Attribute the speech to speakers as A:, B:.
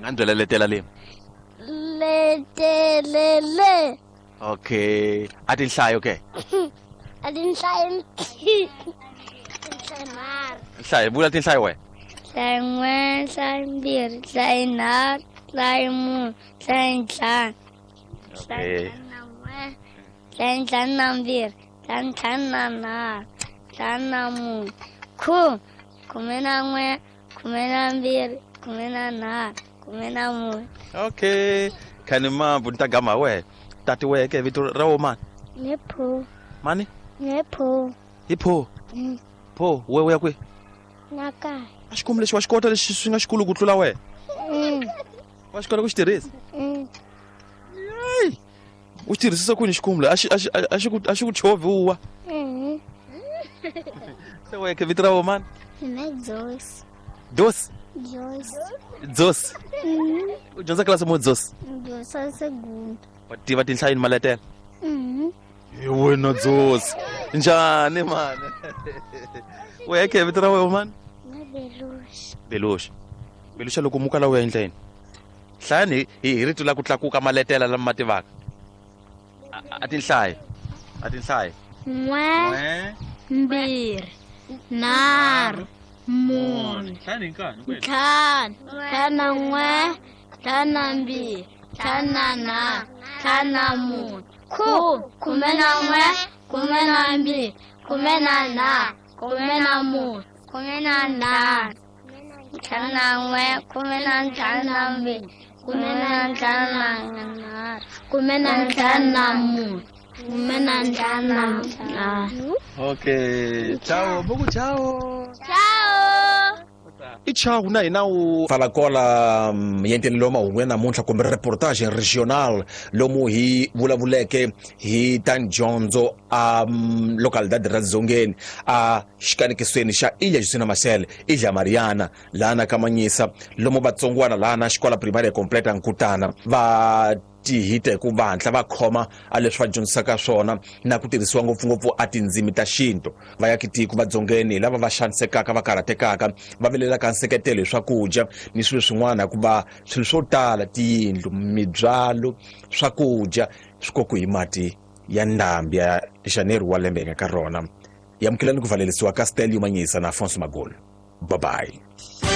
A: Nga ni byela letela le.
B: Letelele.
A: Okay, a tinhlayo ke?
B: A tinhlayo. Nhlayo nharhu.
A: Nhlayo, vula tinhlayo wena.
B: Nhlayo n'we, nhlayo mbirhi, nhlayo nharhu, nhlayo mune, nhlayo ntlhanu.
A: Okay.
B: Nhlayo ntlhanu na n'we, nhlayo ntlhanu na mbirhi, nhlayo ntlhanu na nharhu, ntlhanu na mune, khume, khume na n'we, khume na mbirhi, khume na nharhu, khume na mune.
A: Okay, khani mambu ni ta gama wehe. Tati wehe ke vito ra wo mani?
B: Ne pho.
A: Mani?
B: Ne pho.
A: Hi pho. Pho, we u ya kwihi?
B: Na kaya.
A: A xikomu lexi wa xi kota lexi swi nga xikulu ku tlula wena? Wa xi kota ku xi tirhisa? Yeyi! U xi tirhisisa kwini xikomu leyi? A xi a xi a xi ku a xi ku chovhi u wa? Se wehe ke vito ra wo mani?
B: Mina Joyce.
A: Dosi?
B: Joyce.
A: Dzosi? U dyondza klasi mo Dzosi?
B: Dyondza segunda.
A: Wa tiva tinhlayo ni maletela? Hi wena Dzosi. Njhani mani? Wehe ke vito ra wena mani?
B: Na Belushi.
A: Belushi. Belushi loko muka la u ya endla yini? Hlayani hi hi rito la ku tlakuka maletela lama ma tivaka. A tinhlayo. A tinhlayo.
B: N'we, mbirhi, nharhu, mune,
A: Hlayani hi nkani.
B: ntlhanu, ntlhanu na n'we, ntlhanu na mbirhi, ntlhanu na nharhu, ntlhanu na mune, khume, khume na n'we, khume na mbirhi, khume na nharhu, khume na mune, khume na ntlhanu, ntlhanu na n'we, khume na ntlhanu na mbirhi, khume na ntlhanu na nharhu, khume na ntlhanu na mune, khume na ntlhanu na ntlhanu.
A: Okay. Ciao, buku ciao.
B: Ciao.
A: I chau na hina u
C: Falakola yentelelo wa mahungu ya namuntlha kumbe reportage regional lomu hi vulavuleke hi ta ndyondzo a localidade ra Dzongeni a xikanekisweni xa Ilha Justina Marcel Ilha Mariana lana ka Manyisa lomu vatsongwana lana xikola primaria completa Nkutana va tihita hi ku va hatla va khoma a leswi va dyondzisaka swona na ku tirhisiwa ngopfungopfu a tindzimi ta xintu. Vayakitiko va Dzongeni hi lava va xanisekaka, va karhatekaka, va vilelaka nseketelo hi swakudya ni swilo swin'wana, hikuva swilo swo tala, tiyindlu, mibyalo, swakudya, swi kokiwe hi mati ya ndhambi ya Janeiro wa lembe hi nga ka rona. Hi amukelani ku valelisiwa ka Stelio Manyisa na Afonso Magolo. Bye-bye.